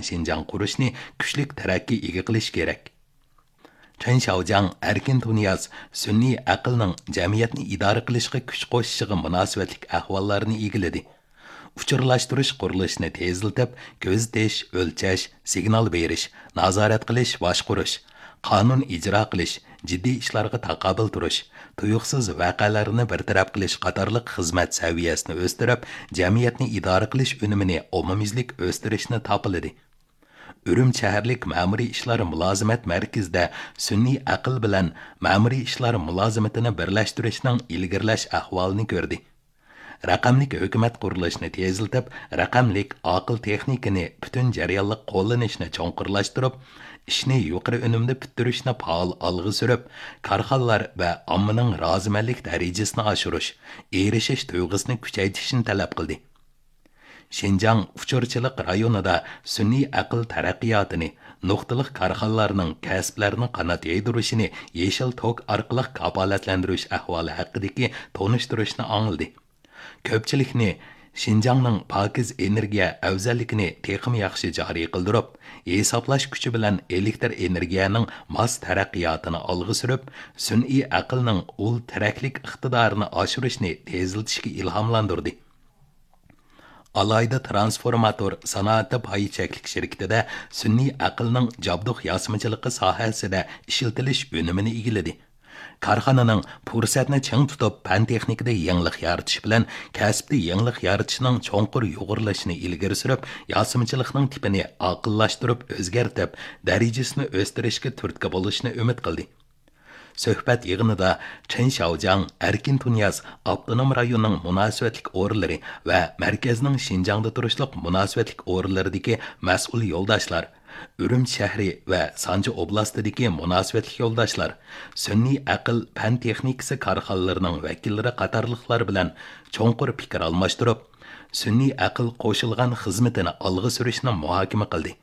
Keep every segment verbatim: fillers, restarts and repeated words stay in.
شىنجاڭ قۇرۇشنى كۈچلۈك تەرەققىي ئىگە قىلىش كېرەك. چېن شياۋجياڭ ئەركىن تۇنىياز سۈنئىي ئەقىلنىڭ جەمئىيەتنى ئىدارە قىلىشقا كۈچ قوشۇشىغا مۇناسىۋەتلىك ئەھۋاللارنى ئىگىلىدى. ئۇچۇرلاشتۇرۇش قۇرۇلۇشىنى تېزلىتىپ، كۆزىتىش، ئۆلچەش، سىگنال بېرىش، نازارەت قىلىش، باشقۇرۇش، قانۇن ئىجرا قىلىش، جىددىي ئىشلارغا تاقابىل تۇرۇش، تۇيۇقسىز ۋەقەلەرنى بىر تەرەپ قىلىش قاتارلىق خىزمەت سەۋىيەسىنى ئۆستۈرۈپ، جەمئىيەتنى ئىدارە قىلىش ئۈنۈمىنى ئومۇميۈزلۈك ئۆستۈرۈشنى تاپىلىدى. ئۈرۈمچى شەھەرلىك مەمۇرىي ئىشلار مۇلازىمەت مەركىزىدە سۈنئىي ئەقىل بىلەن مەمۇرىي ئىشلار مۇلازىمىتىنى بىرلەشتۈرۈشنىڭ ئىلگىرىلەش ئەھۋالىنى كۆردى. رەقەملىك ھۆكۈمەت قۇرۇلۇشىنى تېزلىتىپ، رەقەملىك ئاقىل تېخنىكىنى پۈتۈن جەريانلىق قوللىنىشنى چوڭقۇرلاشتۇرۇپ، ئىشنى يۇقىرى ئۈنۈمدە پۈتتۈرۈشنى پائال ئالغا سۈرۈپ، كارخانىلار ۋە ئاممىنىڭ رازىمەنلىك دەرىجىسىنى ئاشۇرۇش، ئېرىشىش تۇيغۇسىنى كۈچەيتىشنى تەلەپ قىلدى. شىنجاڭ ئۇچۇرچىلىق رايونىدا سۈنئىي ئەقىل تەرەققىياتىنى، نۇقتىلىق كارخانىلارنىڭ كەسىپلەرنى قانات يايدۇرۇشىنى يېشىل توك ئارقىلىق كاپالەتلەندۈرۈش ئەھۋالى ھەققىدىكى تونۇشتۇرۇشنى ئاڭلىدى. كۆپچىلىكنى شىنجاڭنىڭ پاكىز ئېنېرگىيە ئەۋزەللىكىنى تېخىمۇ ياخشى جارى قىلدۇرۇپ، ھېسابلاش كۈچى بىلەن ئېلېكتر ئېنېرگىيەنىڭ ماس تەرەققىياتىنى ئالغا سۈرۈپ، سۈنئىي ئەقىلنىڭ ئۇل تىرەكلىك ئىقتىدارىنى ئاشۇرۇشنى تېزلىتىشكە ئىلھاملاندۇردى. ئالاھىدە تىرانسفورماتور سانائىتى پايى چەكلىك شىركىتىدە سۈنئىي ئەقىلنىڭ جابدۇق ياسىمىچىلىقى ساھەسىدە ئىشلىتىلىش ئۈنۈمىنى ئىگىلىدى. كارخانىنىڭ پۇرسەتنى چىڭ تۇتۇپ، پەن تېخنىكىدا يېڭىلىق يارىتىش بىلەن كەسىپتە يېڭىلىق يارىتىشنىڭ چوڭقۇر يۇغۇرۇلۇشىنى ئىلگىرى سۈرۈپ، ياسىمىچىلىقنىڭ تىپىنى ئاقىللاشتۇرۇپ ئۆزگەرتىپ، دەرىجىسىنى ئۆستۈرۈشكە تۈرتكە بولۇشىنى ئۈمىد قىلدى. سۆھبەت يىغىنىدا چېن شياۋجياڭ، ئەركىن تۇنىياز ئاپتونوم رايوننىڭ مۇناسىۋەتلىك ئورۇنلىرى ۋە مەركەزنىڭ شىنجاڭدا تۇرۇشلۇق مۇناسىۋەتلىك ئورۇنلىرىدىكى مەسئۇل يولداشلار، ئۈرۈمچى شەھىرى ۋە سانجى ئوبلاستىدىكى مۇناسىۋەتلىك يولداشلار، سۈنئىي ئەقىل پەن تېخنىكىسى كارخانىلىرىنىڭ ۋەكىللىرى قاتارلىقلار بىلەن چوڭقۇر پىكىر ئالماشتۇرۇپ، سۈنئىي ئەقىل قوشۇلغان خىزمىتىنى ئالغا سۈرۈشنى مۇھاكىمە قىلدى.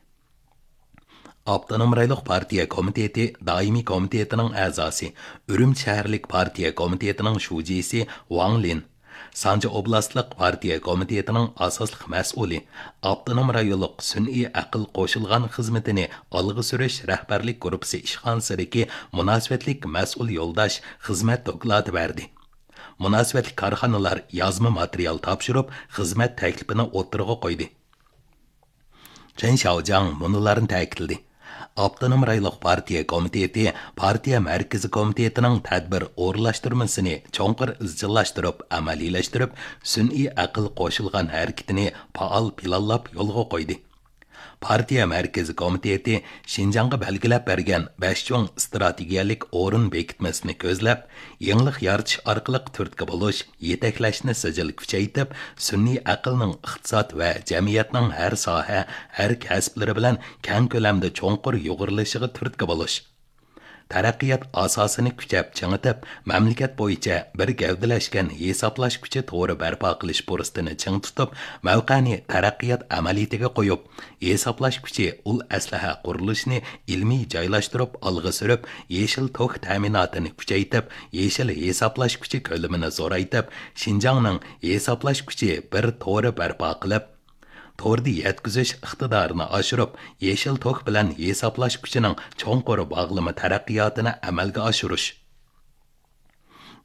ئاپتونوم رايونلۇق پارتىيە كومىتېتى دائىمىي كومىتېتىنىڭ ئەزاسى، ئۈرۈمچى شەھەرلىك پارتىيە كومىتېتىنىڭ شۇجىسى ۋاڭ لىن، سانجى ئوبلاستلىق پارتىيە كومىتېتىنىڭ ئاساسلىق مەسئۇلى، ئاپتونوم رايونلۇق سۈنئىي ئەقىل قوشۇلغان خىزمىتىنى ئالغا سۈرۈش رەھبەرلىك گۇرۇپپىسى ئىشخانىسىدىكى مۇناسىۋەتلىك مەسئۇل يولداش خىزمەت دوكلاتى بەردى. مۇناسىۋەتلىك كارخانىلار يازما ماتېرىيال تاپشۇرۇپ، خىزمەت تەكلىپىنى ئوتتۇرىغا قويدى. چېن شياۋجياڭ مۇنۇلارنى تەكىتلىدى: ئاپتونوم رايونلۇق پارتىيە كومىتېتى پارتىيە مەركىزىي كومىتېتىنىڭ تەدبىر ئورۇنلاشتۇرمىسىنى چوڭقۇر ئىزچىللاشتۇرۇپ ئەمەلىيلەشتۈرۈپ، سۈنئىي ئەقىل قوشۇلغان ھەرىكىتىنى پائال پىلانلاپ يولغا قويدى. پارتىيە مەركىزىي كومىتېتى شىنجاڭغا بەلگىلەپ بەرگەن بەش چوڭ ئىستراتېگىيەلىك ئورۇن بېكىتمىسىنى كۆزلەپ، يېڭىلىق يارىتىش ئارقىلىق تۈرتكە بولۇش، يېتەكلەشنى سىجىل كۈچەيتىپ، سۈنئىي ئەقىلنىڭ ئىقتىساد ۋە جەمئىيەتنىڭ ھەر ساھە، ھەر كەسىپلىرى بىلەن كەڭ كۆلەمدە چوڭقۇر يۇغۇرۇلۇشىغا تۈرتكە بولۇش. تەرەققىيات ئاساسىنى كۈچەپ چىڭىتىپ، مەملىكەت بويىچە بىر گەۋدىلەشكەن ھېسابلاش كۈچى تورى بەرپا قىلىش پۇرسىتىنى چىڭ تۇتۇپ، مەۋقەنى تەرەققىيات ئەمەلىيىتىگە قويۇپ، ھېسابلاش كۈچى ئۇل ئەسلىھە قۇرۇلۇشىنى ئىلمىي جايلاشتۇرۇپ ئالغا سۈرۈپ، يېشىل توك تەمىناتىنى كۈچەيتىپ، يېشىل ھېسابلاش كۈچى كۆلىمىنى زورايتىپ، شىنجاڭنىڭ ھېسابلاش كۈچى بىر تورى بەرپا قىلىپ، توردا يەتكۈزۈش ئىقتىدارىنى ئاشۇرۇپ، يېشىل توك بىلەن ھېسابلاش كۈچىنىڭ چوڭقۇر باغلىما تەرەققىياتىنى ئەمەلگە ئاشۇرۇش.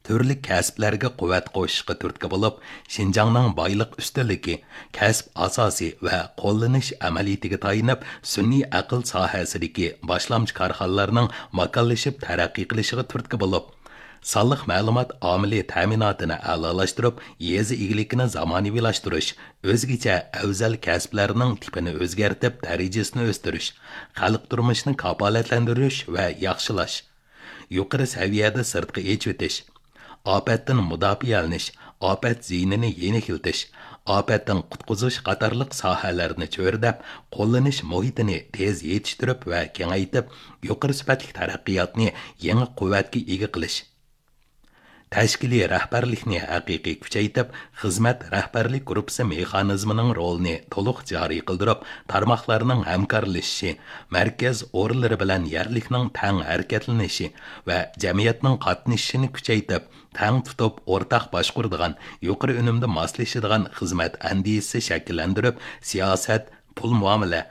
تۈرلۈك كەسىپلەرگە قۇۋۋەت قوشۇشقا تۈرتكە بولۇپ، شىنجاڭنىڭ بايلىق ئۈستۈنلۈكى، كەسىپ ئاساسى ۋە قوللىنىش ئەمەلىيىتىگە تايىنىپ، سۈنئىي ئەقىل ساھەسىدىكى باشلامچى كارخانىلارنىڭ ماكانلىشىپ تەرەققىي قىلىشىغا تۈرتكە بولۇپ، سانلىق مەلۇمات ئامىلى تەمىناتىنى ئەلالاشتۇرۇپ، يېزا ئىگىلىكىنى زامانىۋىلاشتۇرۇش، ئۆزگىچە ئەۋزەل كەسىپلەرنىڭ تىپىنى ئۆزگەرتىپ، دەرىجىسىنى ئۆستۈرۈش، خەلق تۇرمۇشىنى كاپالەتلەندۈرۈش ۋە ياخشىلاش، يۇقىرى سەۋىيەدە سىرتقا ئېچىۋېتىش، ئاپەتتىن مۇداپىئەلىنىش، ئاپەت زىيىنىنى يېنىكلىتىش، ئاپەتتىن قۇتقۇزۇش قاتارلىق ساھەلەرنى چۆرىدەپ، قوللىنىش مۇھىتىنى تېز يېتىشتۈرۈپ ۋە كېڭەيتىپ، يۇقىرى سۈپەتلىك تەرەققىياتنى يېڭى قۇۋۋەتكە ئىگە قىلىش. تەشكىلىي رەھبەرلىكنى ھەقىقىي كۈچەيتىپ، خىزمەت رەھبەرلىك گۇرۇپپىسى مېخانىزمىنىڭ رولىنى تولۇق جارى قىلدۇرۇپ، تارماقلارنىڭ ھەمكارلىشىشى، مەركەز ئورۇنلىرى بىلەن يەرلىكنىڭ تەڭ ھەرىكەتلىنىشى ۋە جەمئىيەتنىڭ قاتنىشىشىنى كۈچەيتىپ، تەڭ تۇتۇپ ئورتاق باشقۇرىدىغان، يۇقىرى ئۈنۈمدە ماسلىشىدىغان خىزمەت ئەندىزىسى شەكىللەندۈرۈپ، سىياسەت، پۇل مۇئامىلە،